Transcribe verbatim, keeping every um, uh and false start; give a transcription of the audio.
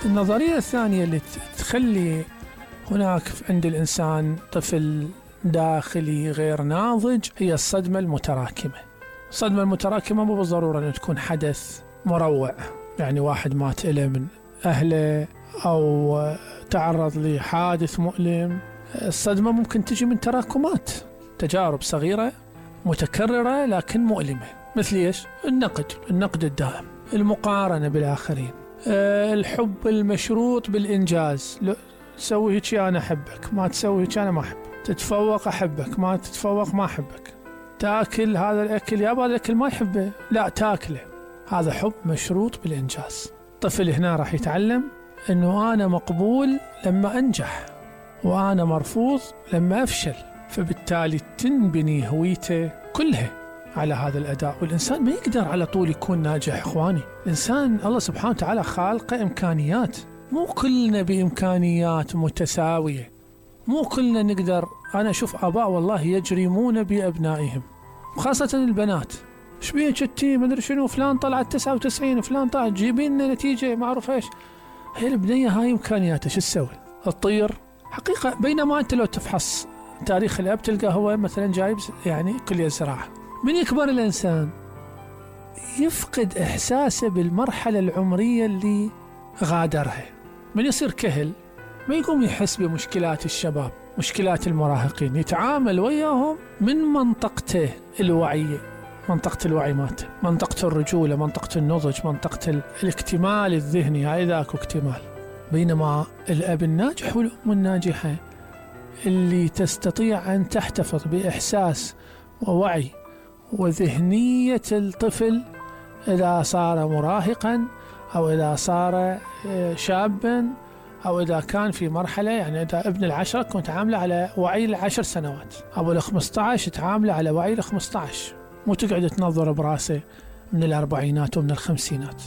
النظرية الثانية اللي تخلي هناك عند الإنسان طفل داخلي غير ناضج هي الصدمة المتراكمة. الصدمة المتراكمة مو بالضرورة أن تكون حدث مروع، يعني واحد مات إله من أهله أو تعرض لحادث مؤلم. الصدمة ممكن تجي من تراكمات، تجارب صغيرة متكررة لكن مؤلمة. مثل إيش؟ النقد النقد الدائم، المقارنة بالآخرين، أه الحب المشروط بالإنجاز. تسوي هيك أنا أحبك، ما تسوي هيك أنا ما أحبك. تتفوق أحبك، ما تتفوق ما أحبك. تاكل هذا الأكل، يا هذا الأكل ما يحبه، لا تاكله. هذا حب مشروط بالإنجاز. طفل هنا راح يتعلم أنه أنا مقبول لما أنجح، وأنا مرفوض لما أفشل، فبالتالي تنبني هويته كلها على هذا الأداء. والإنسان ما يقدر على طول يكون ناجح إخواني. الإنسان الله سبحانه وتعالى خالقه إمكانيات، مو كلنا بإمكانيات متساوية، مو كلنا نقدر. أنا أشوف آباء والله يجرمون بأبنائهم، خاصة البنات. ايش بيه جتي ما ادري شنو، فلان طلعت تسعة وتسعين، فلان طلع جيبين لنا نتيجة ما أعرف ايش. هي البنية هاي إمكانياتها شو تسوي؟ تطير حقيقة. بينما أنت لو تفحص تاريخ الأب تلقى هو مثلا جايب يعني كلية زراعة. من يكبر الإنسان يفقد إحساسه بالمرحلة العمرية اللي غادرها. من يصير كهل ما يقوم يحس بمشكلات الشباب، مشكلات المراهقين، يتعامل وياهم من منطقته الوعية، منطقة الوعي مالته، منطقة الرجولة، منطقة النضج، منطقة الاكتمال الذهني. هاي ذاك اكتمال. بينما الأب الناجح والأم الناجحة اللي تستطيع أن تحتفظ بإحساس ووعي وذهنية الطفل إذا صار مراهقا أو إذا صار شابا أو إذا كان في مرحلة، يعني إذا ابن العشرة كنت عامله على وعي العشر سنوات، أو الخمسة عشر تعامله على وعي الخمسة عشر، مو تقعد تنظر براسه من الأربعينات ومن الخمسينات.